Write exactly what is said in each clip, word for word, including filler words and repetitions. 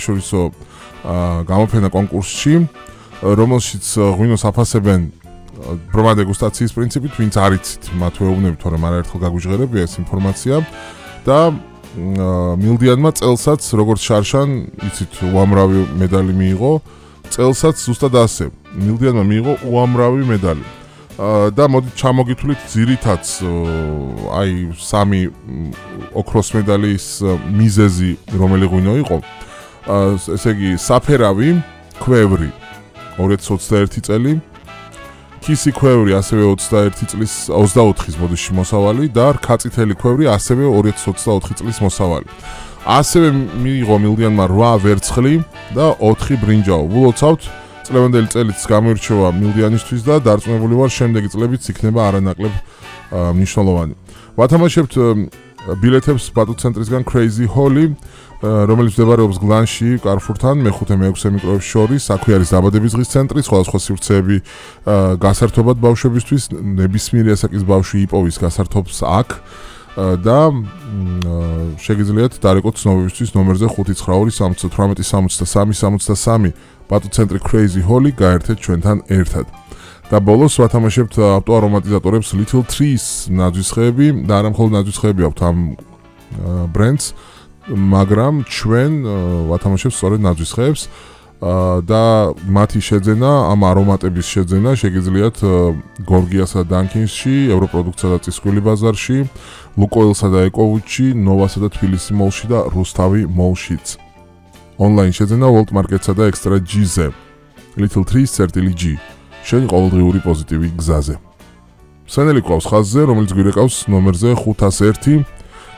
შორისო გამოფენა კონკურსში, რომელშიც ღვინოს აფასებენ ბრმა დეგუსტაციის პრინციპით, ვინც არ იცით, მათ ვეუბნებით, თორემ არაერთხელ გაგვიჟღერებია ეს ინფორმაცია და მილდიანმა წელსაც, როგორც შარშან, იცით, უამრავი медали მიიღო, წელსაც ზუსტად ასე. მილდიანმა მიიღო უამრავი медали. და მოდით ჩამოგითვლით ძირითადს აი სამი ოქროს медаლის მიზეზი რომელი ღვინო იყო. ესე იგი საფერავი ქვევრი ორი ათას ოცდაერთი წელი, ქისი ქვევრი ასევე ოცდაერთი წლის ოცდაოთხის ბოდიში მოსავალი და რქაწითელი ქვევრი ასევე ორი ათას ოცდაოთხი წლის მოსავალი. ასევე მიიღო მილდიანმა რვა ვერცხლი და ოთხი ბრინჯაო. ვილოცავთ წლევანდელი წელიც გამოირჩევა მილდიანისთვის და დარწმუნებული ვარ შემდეგი წლებიც იქნება არანაკლებ მნიშვნელოვანი. ვათამაშებთ ბილეთებს ბატუცენტრისგან Crazy Holly, რომელიც მდებარეობს გლანში, კარფურთან, მეხუთე მეექვსე მიკროებს შორის. აქვე არის დაბადების დღის ცენტრი, სხვადასხვა სივრცეები გასართობად ბავშვებისთვის, ნებისმიერი ასაკის ბავშვი იპოვის გასართობს აქ და შეგიძლიათ დარეკოთ ცნობებისთვის ნომერზე ხუთი ცხრა ორი სამოცდა თვრამეტი სამოცდა სამი სამოცდა სამი ბატუცენტრი Crazy Holly გაერთეთ ჩვენთან ერთად. და ბოლოს ვათამაშებთ ავტოარომატიზატორებს Little Trees ნაძვისხეები და არა მხოლოდ ნაძვისხეები აქვთ ამ ბრენდს, მაგრამ ჩვენ ვათამაშებთ სწორედ ნაძვისხეებს და მათი შეძენა, ამ არომატების შეძენა შეგიძლიათ გორგიასა და დანკინსში, ევროპროდუქტსა და წისქვილი ბაზარში, ლუკოილსა და ეკოვუჩში, ნოვასა და თბილისი მოლში და რუსთავი მოლშიც. Online შეძენა World Market-სა და Extra G-ზე. Little Trees წერტილი G. შენი ყოველდღიური პოზიტივი გზაზე. სენელი ყავს ხაზზე, რომელიც გვირეკავს ნომერზე ხუთას ერთი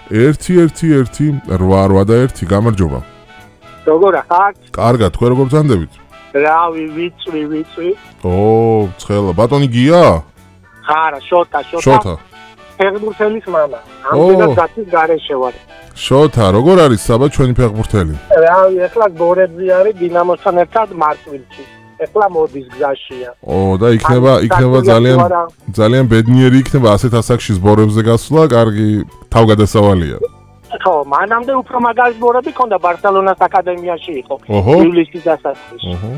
ერთი ერთი ერთი რვა რვა და ერთი. გამარჯობა. როგორ ახართ? კარგად, თქვენ როგორ ბრძანდებით? რავი, ვიწვი, ვიწვი. ო, ცხელა, ბატონი გია? ხარა, შოთა, შოთა. შოთა. ფეხბურთელის მამა. ამდენად გაცის გარეშე ვარ. შოთა, როგორ არის საბა ჩვენი ფეხბურთელი? რავი, ეხლა გორებზე არის დინამოსთან ერთად მარტვილში. ეხლა მოდის გზაშია. ო, და იქნება, იქნება ძალიან ძალიან ბედნიერი იქნება ასეთ ასაკში ზბორებზე გასვლა, კარგი თავგადასავალია. ხო, მანამდე უფრო მაგარი ზბორები ქონდა ბარსელონას აკადემიაში იყო. ივლისის დასაწყისში. ოჰო.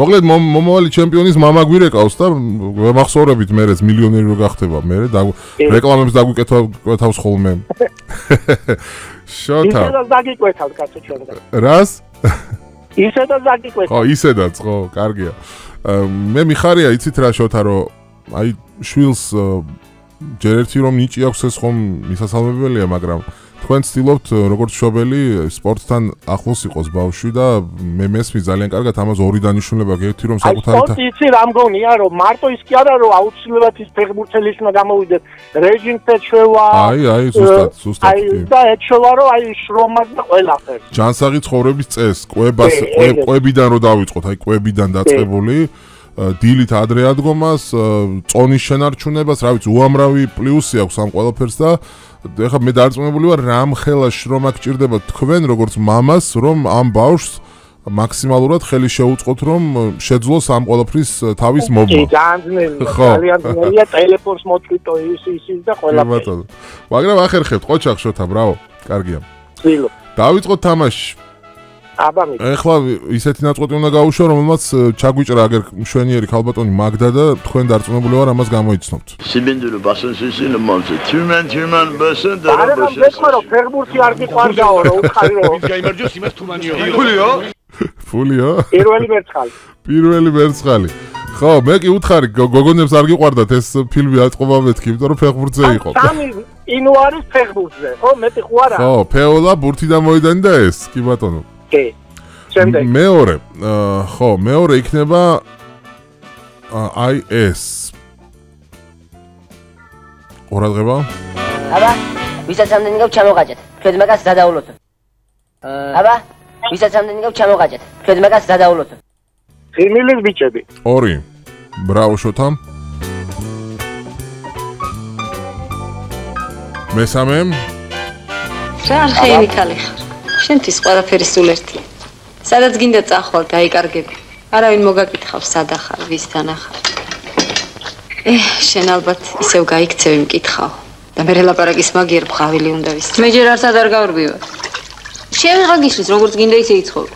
მოკლედ მომავალი ჩემპიონის მამა გვირეკავს და ვემახსოვრებით მერეც მილიონერი რო გახდება, მერე და რეკლამებს დაგვიკეთავს ხოლმე. შოთა. ისედაც დაგიკვეთავთ კაცო ჩვენგან. რას? ისედაც დაგიკვეთავთ. ხო, ისედაც, ხო, კარგია. მე მიხარია, იცით რა შოთა, რომ აი შვილს ჯერ ერთი რომ ნიჭი აქვს ეს ხომ მისასალმებელია, მაგრამ თქვენ ცდილობთ როგორც მშობელი სპორტთან ახლოს იყოს ბავშვი და მე მესმის ძალიან კარგად ამას ორი დანიშნულება გექცი რომ საკუთარი სპორტი იცი რა მგონია რომ მარტო ის კი არა რომ აუცილებლად ის ფეხბურთელის უნდა გამოვიდეს რეჟიმს ეჩვევა აი აი ზუსტად ზუსტად აი და ეჩვევა რომ აი შრომას და ყველაფერს ჯანსაღი ცხოვრების წესს კვებას კვებიდან რო დავიწყოთ აი კვებიდან დაწყებული დილით ადრე ადგომას წონის შენარჩუნებას რა ვიცი უამრავი პლუსი აქვს ამ ყველაფერს და ეხლა მე დარწმუნებული ვარ რამ ხელა შრომა გჭირდება თქვენ როგორც მამას რომ ამ ბავშვს მაქსიმალურად ხელი შეუწყოთ რომ შეძლოს ამ ყველაფრის თავის მობმა. ძალიან ძალიან ძნელია ტელეფონს მოწვიტო ის ის და ყველაფერი. მაგრამ ახერხებთ ყოჩახ შოთა ბრავო. კარგია. წილო. დავიწყოთ თამაში. აბა მე. ეხლა ისეთი ნაწყვეტი უნდა გაუშვა რომელმაც ჩაგვიჭრა აგერ მშვენიერი ქალბატონი მაგდა და თქვენ დარწმუნებული ვარ ამას გამოიცნობთ. Sibindulu basın sesini monse. Tümen tümen basın da basın. არა მეკმა რომ ფეხბურთი არ გიყვარდაო რომ უხარი რომ. ის გაიმარჯოს იმას თუმანიო. ფულიო? ფულიო? პირველი მერცხალი. პირველი მერცხალი. ხო, მე კი უთხარი გოგონებს არ გიყვარდათ ეს ფილმი აწყობა მეთქი, იმიტომ რომ ფეხბურთზე იყო. სამი ინო არის ფეხბურთზე. ხო, მეტი ხო არა? ხო, ფეოლა ბურთიდან მოედანდა ეს, კი ბატონო. კი. შემდეგ. მეორე, ხო, მეორე იქნება აი ეს. ყურადღება. აბა, ვისაც ამდენი გაქვს ჩამოღაჭეთ. თქვენ მაგას გადაულოთ. აბა, ვისაც ამდენი გაქვს ჩამოღაჭეთ. თქვენ მაგას გადაულოთ. ხიმილის ბიჭები. ორი. ბრავო შოთა. მესამე. რა ხეივი ქალი ხარ. შენთვის ყველაფერი სულ ერთია. სადაც გინდა წახვალ დაიკარგები. არავინ მოგაკითხავს სად ახარ, ვისთან ახარ. ეჰ, შენ ალბათ ისევ გაიქცევი მკითხავ. და მე ლაპარაკის მაგიერ ბღავილი უნდა ვის. მე ჯერ არც არ გავრბივარ. შევიღა გიშლის, როგორც გინდა ისე იცხოვ.